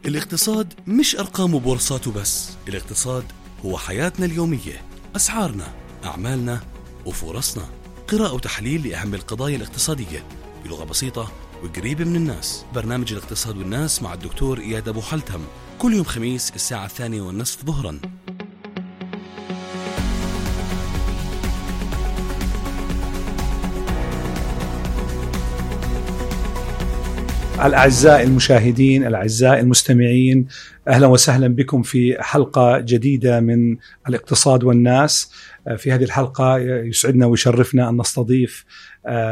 الاقتصاد مش أرقام وبورصات وبس، الاقتصاد هو حياتنا اليومية، أسعارنا، أعمالنا وفرصنا. قراءة وتحليل لأهم القضايا الاقتصادية بلغة بسيطة وقريبة من الناس. برنامج الاقتصاد والناس مع الدكتور إياد أبو حلتم، كل يوم خميس الساعة 2:30 ظهرا. الأعزاء المشاهدين، الأعزاء المستمعين، أهلا وسهلا بكم في حلقة جديدة من الاقتصاد والناس. في هذه الحلقة يسعدنا ويشرفنا أن نستضيف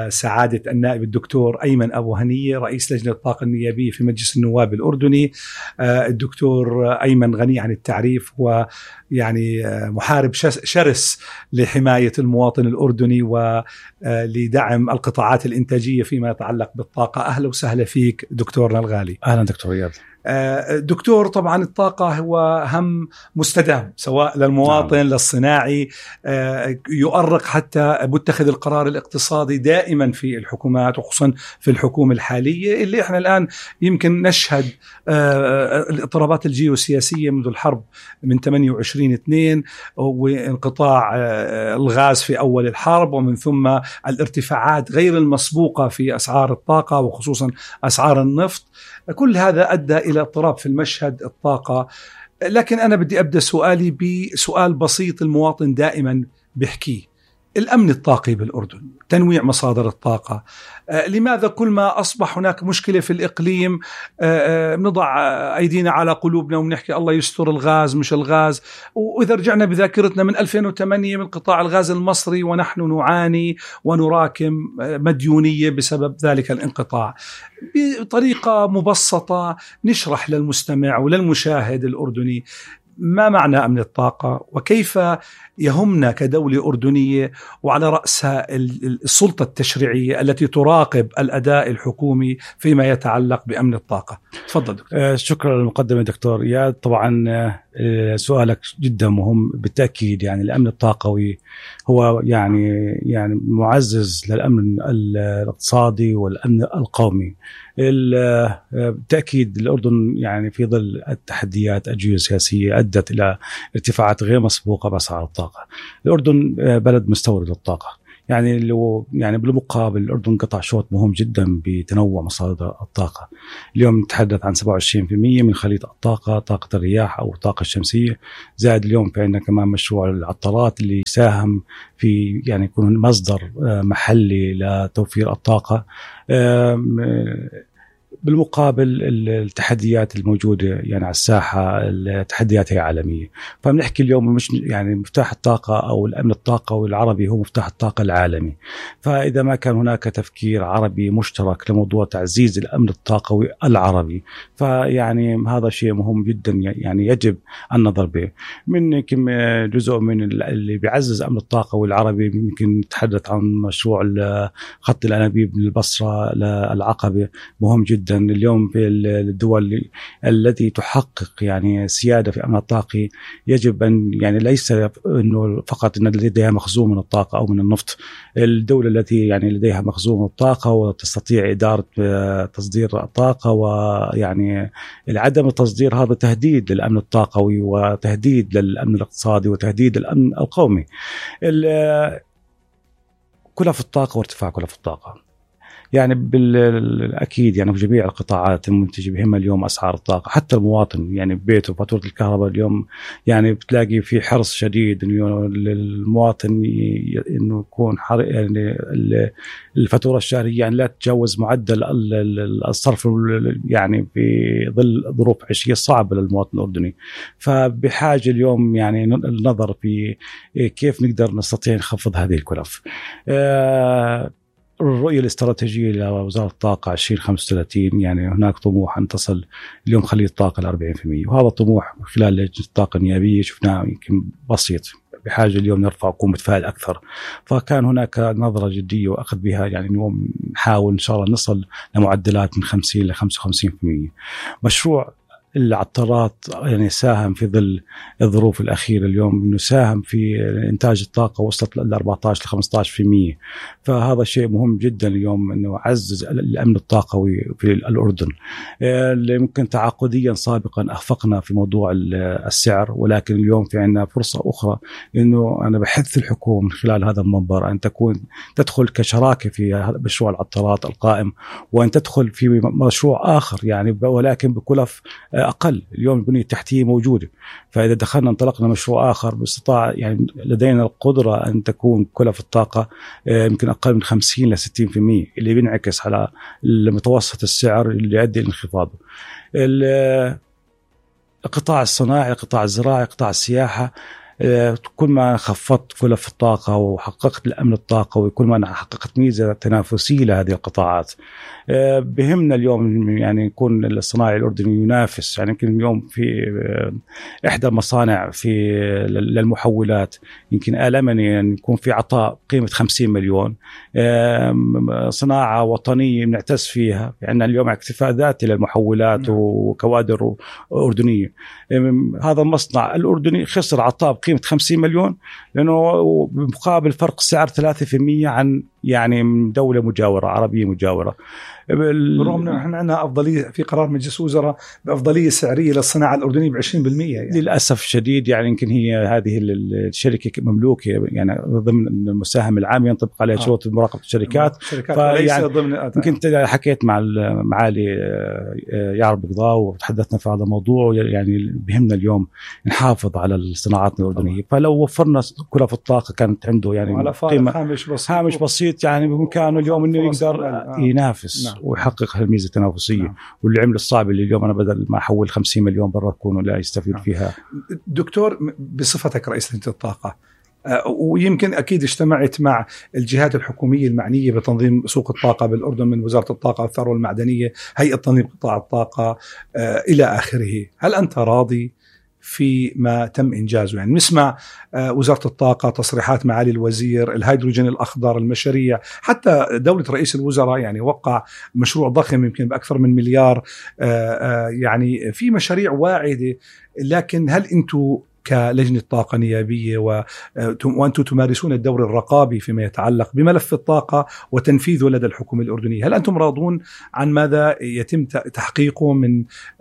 سعادة النائب الدكتور أيمن أبو هنية، رئيس لجنة الطاقة النيابية في مجلس النواب الأردني. الدكتور أيمن غني عن التعريف، ويعني محارب شرس لحماية المواطن الأردني ولدعم القطاعات الإنتاجية فيما يتعلق بالطاقة. أهلا وسهلا فيك دكتورنا الغالي. أهلا دكتور إياد. دكتور، طبعا الطاقة هو هم مستدام سواء للمواطن للصناعي، يؤرق حتى متخذ القرار الاقتصادي دائما في الحكومات، وخصوصا في الحكومة الحالية اللي احنا الآن يمكن نشهد الاضطرابات الجيوسياسية منذ الحرب من 28/2 وانقطاع الغاز في أول الحرب، ومن ثم الارتفاعات غير المسبوقة في أسعار الطاقة وخصوصا أسعار النفط. كل هذا أدى إلى اضطراب في المشهد الطاقة. لكن أنا بدي أبدأ سؤالي بسؤال بسيط المواطن دائما بيحكيه: الأمن الطاقي بالأردن، تنويع مصادر الطاقة. لماذا كل ما أصبح هناك مشكلة في الإقليم بنضع أيدينا على قلوبنا وبنحكي الله يستر الغاز مش الغاز؟ وإذا رجعنا بذاكرتنا من 2008 من قطاع الغاز المصري ونحن نعاني ونراكم مديونية بسبب ذلك الانقطاع. بطريقة مبسطة نشرح للمستمع وللمشاهد الأردني ما معنى أمن الطاقة، وكيف يهمنا كدولة أردنية وعلى رأسها السلطة التشريعية التي تراقب الأداء الحكومي فيما يتعلق بأمن الطاقة. تفضل دكتور. شكرا للمقدمة دكتور إياد. طبعا سؤالك جدا مهم بالتأكيد. يعني الأمن الطاقوي هو يعني معزز للأمن الاقتصادي والأمن القومي. بالتأكيد الأردن يعني في ظل التحديات الجيوسياسية أدت إلى ارتفاعات غير مسبوقة بأسعار الطاقة. الأردن بلد مستورد للطاقة، يعني بالمقابل الأردن قطع شوط مهم جدا بتنوع مصادر الطاقة. اليوم نتحدث عن 27% من خليط الطاقة، طاقة الرياح أو الطاقة الشمسية. زائد اليوم في عندنا كمان مشروع العطارات اللي يساهم في يعني يكون مصدر محلي لتوفير الطاقة. بالمقابل التحديات الموجودة يعني على الساحة، التحديات هي عالمية. فبنحكي اليوم مش يعني مفتاح الطاقة أو الأمن الطاقوي العربي هو مفتاح الطاقة العالمي. فإذا ما كان هناك تفكير عربي مشترك لموضوع تعزيز الأمن الطاقوي العربي، فيعني هذا شيء مهم جدا، يعني يجب النظر به. من كم جزء من اللي بيعزز الأمن الطاقوي العربي ممكن نتحدث عن مشروع خط الأنابيب من البصرة للعقبة، مهم جدا. اليوم في الدول التي تحقق يعني سيادة في أمن الطاقي يجب أن يعني ليس إنه فقط إن لديها مخزون من الطاقة أو من النفط. الدولة التي يعني لديها مخزون من الطاقة وتستطيع إدارة تصدير الطاقة، ويعني عدم التصدير هذا تهديد للأمن الطاقوي وتهديد للأمن الاقتصادي وتهديد للأمن القومي. كلف الطاقة وارتفاع كلف الطاقة يعني بالأكيد يعني في جميع القطاعات المنتجة بهمها اليوم أسعار الطاقة. حتى المواطن يعني ببيته فاتورة الكهرباء اليوم يعني بتلاقي في حرص شديد إنه للمواطن إنه يكون يعني الفاتورة الشهرية يعني لا تتجاوز معدل الصرف يعني في ظل ظروف عيشية صعبة للمواطن الأردني. فبحاجة اليوم يعني النظر في كيف نقدر نستطيع نخفض هذه الكلف. الرؤية الاستراتيجية لوزارة الطاقة 2035 يعني هناك طموح أن تصل اليوم خليط الطاقة ل 40%، وهذا طموح خلال لجنة الطاقة النيابية شفناه يمكن بسيط، بحاجة اليوم نرفع وكون متفائل أكثر. فكان هناك نظرة جدية وأخذ بها يعني اليوم نحاول إن شاء الله نصل لمعدلات من 50 ل 55%. مشروع العطارات يعني ساهم في ظل الظروف الأخيرة اليوم إنه ساهم في إنتاج الطاقة وصلت ل 14-15%. فهذا شيء مهم جدا اليوم إنه عزز الأمن الطاقوي في الأردن. اللي ممكن تعاقديا سابقا أخفقنا في موضوع السعر، ولكن اليوم في عنا فرصة أخرى إنه أنا بحث الحكومة من خلال هذا المنبر أن تدخل كشراكة في مشروع العطارات القائم، وأن تدخل في مشروع آخر يعني ولكن بكلف أقل. اليوم البنية التحتية موجودة، فإذا دخلنا انطلقنا مشروع آخر باستطاع يعني لدينا القدرة أن تكون كلف الطاقة يمكن أقل من 50 ل 60%، اللي بينعكس على متوسط السعر اللي يؤدي لانخفاضه. القطاع الصناعي، القطاع الزراعي، قطاع السياحة، كل ما خفضت كلف الطاقة وحققت الأمن الطاقوي كل ما حققت ميزة تنافسية لهذه القطاعات. بهمنا اليوم يعني يكون الصناعي الأردني ينافس. يعني يمكن اليوم في إحدى المصانع في للمحولات يمكن آلمني أن يكون في عطاء قيمة 50 مليون، صناعة وطنية بنعتز فيها. يعني اليوم اكتفاء ذاتي للمحولات وكوادر أردنية. هذا المصنع الأردني خسر عطاء بقيمة 50 مليون لأنه بمقابل فرق سعر 3% عن يعني دولة مجاورة عربية مجاورة. بالرغم أنه نحن عندنا أفضلية في قرار مجلس وزراء بأفضلية سعرية للصناعة الأردنية ب20%. يعني للأسف الشديد يعني يمكن هي هذه الشركة مملوكة يعني ضمن المساهم العام ينطبق عليها شروط مراقبة الشركات. يعني يمكن حكيت مع معالي يعرب بقضاء وتحدثنا في هذا الموضوع. يعني بهمنا اليوم نحافظ على الصناعات الأردنية، فلو وفرنا كلف الطاقة كانت عنده يعني قيمة هامش بسيط يعني بإمكانه اليوم إنه يقدر ينافس ويحقق هالميزة التنافسية. واللي عمل الصعب اللي اليوم أنا بدل ما أحول 50 مليون برا أكون لا يستفيد فيها. دكتور، بصفتك رئيس لجنة الطاقة ويمكن أكيد اجتمعت مع الجهات الحكومية المعنية بتنظيم سوق الطاقة بالأردن من وزارة الطاقة والثروة المعدنية، هيئة تنظيم قطاع الطاقة إلى آخره. هل أنت راضي في ما تم إنجازه؟ يعني نسمع وزارة الطاقة تصريحات معالي الوزير، الهيدروجين الأخضر، المشاريع، حتى دولة رئيس الوزراء يعني وقع مشروع ضخم يمكن بأكثر من مليار. يعني في مشاريع واعدة، لكن هل أنتم كلجنة طاقة نيابية وأنتم تمارسون الدور الرقابي فيما يتعلق بملف الطاقة وتنفيذه لدى الحكومة الأردنية، هل أنتم راضون عن ماذا يتم تحقيقه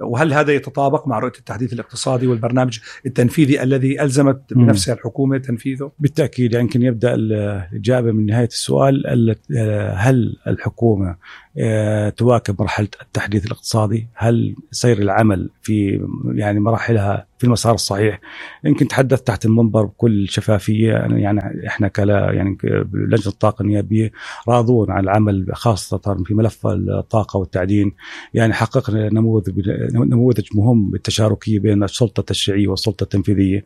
وهل هذا يتطابق مع رؤية التحديث الاقتصادي والبرنامج التنفيذي الذي ألزمت بنفسها الحكومة تنفيذه؟ بالتأكيد. يمكن يبدأ الإجابة من نهاية السؤال. هل الحكومة تواكب مرحلة التحديث الاقتصادي؟ هل سير العمل في يعني مراحلها في المسار الصحيح؟ يمكن تحدث تحت المنبر بكل شفافية. يعني احنا يعني لجنة الطاقة النيابية راضون عن العمل خاصة في ملف الطاقة والتعدين. يعني حققنا نموذج مهم بالتشاركية بين السلطة التشريعية والسلطة التنفيذية.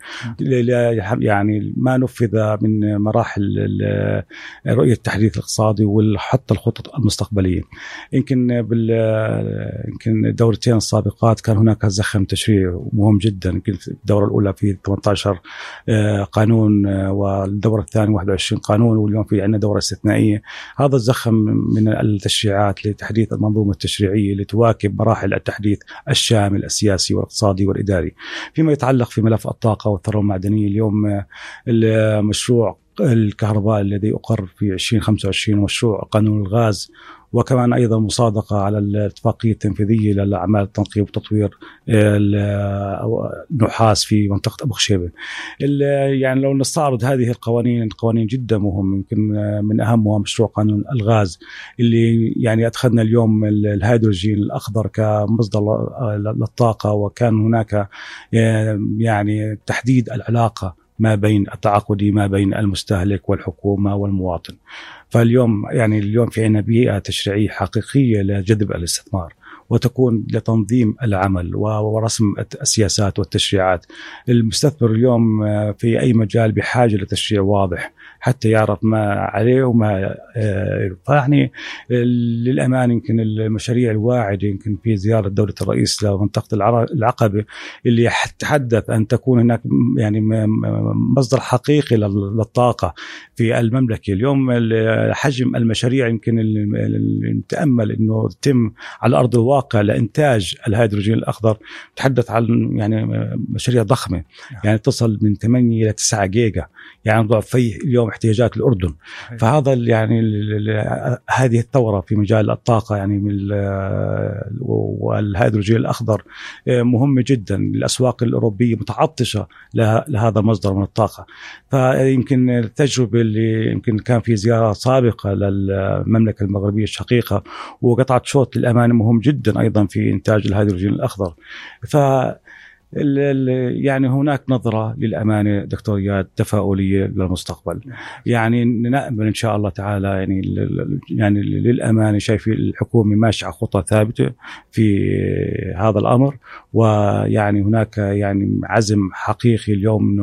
يعني ما نفذ من مراحل رؤية التحديث الاقتصادي وحتى الخطط المستقبلية. يمكن الدورتين السابقات كان هناك زخم تشريعي مهم جدا. يمكن الدورة الأولى في 18 قانون والدورة الثانية 21 قانون، واليوم في عندنا دورة استثنائية. هذا الزخم من التشريعات لتحديث المنظومة التشريعية لتواكب مراحل التحديث الشامل السياسي والاقتصادي والإداري. فيما يتعلق في ملف الطاقة والثروة المعدنية، اليوم المشروع الكهرباء الذي أقر في 2025 ومشروع قانون الغاز، وكمان أيضا مصادقة على الاتفاقية التنفيذية للأعمال التنقيب وتطوير النحاس في منطقة أبو خشيبة. يعني لو نستعرض هذه القوانين جدا مهم. يمكن من أهمها مشروع قانون الغاز اللي يعني أدخلنا اليوم الهيدروجين الأخضر كمصدر للطاقة، وكان هناك يعني تحديد العلاقة ما بين التعاقدي ما بين المستهلك والحكومة والمواطن. فاليوم يعني اليوم في عنا بيئة تشريعية حقيقية لجذب الاستثمار وتكون لتنظيم العمل ورسم السياسات والتشريعات. المستثمر اليوم في أي مجال بحاجة لتشريع واضح حتى يعرف ما عليه وما فيعني للأمان يمكن المشاريع الواعدة يمكن في زيارة دولة الرئيس لمنطقة العقبة اللي تحدث أن تكون هناك يعني مصدر حقيقي للطاقة في المملكة. اليوم حجم المشاريع يمكن نتأمل أنه تتم على أرض الواقع لإنتاج الهيدروجين الأخضر تحدث عن يعني مشاريع ضخمة يعني تصل من 8 إلى 9 جيجا يعني ضعف اليوم احتياجات الأردن. فهذا يعني هذه الثورة في مجال الطاقة يعني والهيدروجين الأخضر مهمة جدا. الأسواق الأوروبية متعطشة لهذا المصدر من الطاقة. فيمكن التجربة اللي يمكن كان في زيارة سابقة للمملكة المغربية الشقيقة وقطعة شوط للأمانة مهم جدا أيضا في إنتاج الهيدروجين الأخضر. يعني هناك نظرة للأمانة دكتور إياد تفاؤلية للمستقبل. يعني نأمل إن شاء الله تعالى يعني للأمانة شايف الحكومة ماشية خطة ثابتة في هذا الأمر. ويعني هناك يعني عزم حقيقي اليوم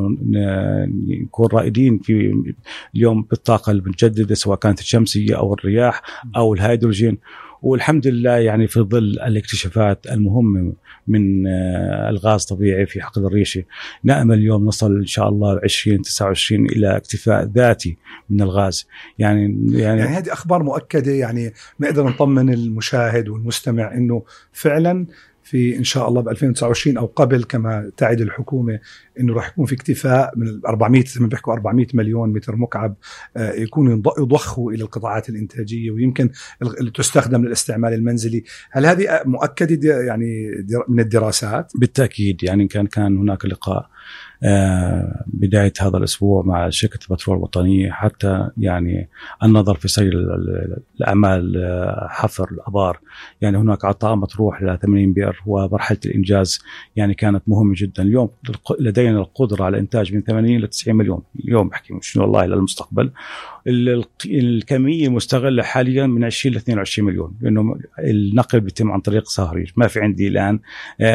نكون رائدين في اليوم بالطاقة المتجددة سواء كانت الشمسية أو الرياح أو الهيدروجين. والحمد لله يعني في ظل الاكتشافات المهمة من الغاز طبيعي في حقل الريشة نأمل اليوم نصل إن شاء الله 2029 إلى اكتفاء ذاتي من الغاز. يعني هذه أخبار مؤكدة يعني نقدر نطمن المشاهد والمستمع إنه فعلا في إن شاء الله ب 2029 أو قبل كما تعد الحكومة إنه راح يكون في اكتفاء من 400 زي ما بيحكوا 400 مليون متر مكعب يكون يضخوا إلى القطاعات الإنتاجية ويمكن تستخدم للاستعمال المنزلي. هل هذه مؤكدة يعني من الدراسات؟ بالتأكيد. يعني كان هناك لقاء بداية هذا الأسبوع مع شركة البترول الوطنية حتى يعني النظر في سير الأعمال حفر الأبار. يعني هناك عطاء مطروح ل 80 بئر ومرحلة الإنجاز يعني كانت مهمة جدا. اليوم لدينا القدرة على إنتاج من 80 إلى 90 مليون. اليوم بحكي شنو والله للمستقبل الكمية مستغلة حاليا من 20 ل 22 مليون لأنه النقل بيتم عن طريق صهريج. ما في عندي الآن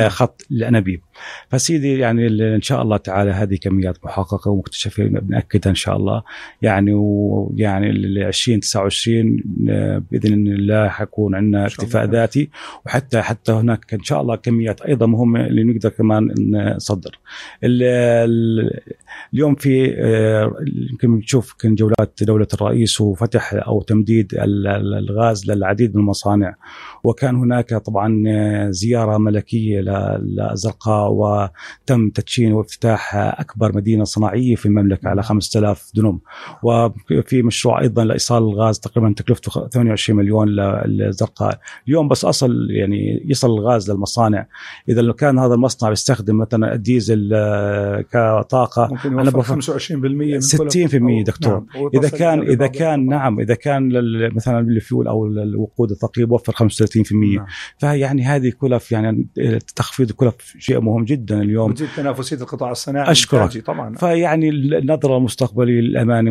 خط الأنابيب. فسيدي يعني إن شاء الله تعالى هذه كميات محققة ومكتشفة بنأكدها إن شاء الله يعني. ويعني 2029 بإذن الله حيكون عندنا اكتفاء ذاتي وحتى هناك إن شاء الله كميات أيضا مهمة اللي نقدر كمان نصدر. اليوم في يمكن نشوف كان جولات دولة الرئيس وفتح أو تمديد الغاز للعديد من المصانع. وكان هناك طبعا زيارة ملكية للزرقاء وتم تدشين وافتتاح أكبر مدينة صناعية في المملكة على 5000 دنم. وفي مشروع أيضا لإيصال الغاز تقريبا تكلفته 28 مليون للزرقاء. اليوم بس يعني يصل الغاز للمصانع. إذا لو كان هذا المصنع بيستخدم مثلا الديزل كطاقة أنا بفهم 25% 60% دكتور. نعم. إذا كان مثلا الفيول أو الوقود الثقيل وفر 35%. نعم. فيعني هذه كلف يعني تخفيض كلف شيء مهم جدا اليوم. وتزيد تنافسية القطاع الصناعي. أشكرك طبعا. فيعني النظرة المستقبلية للأمانة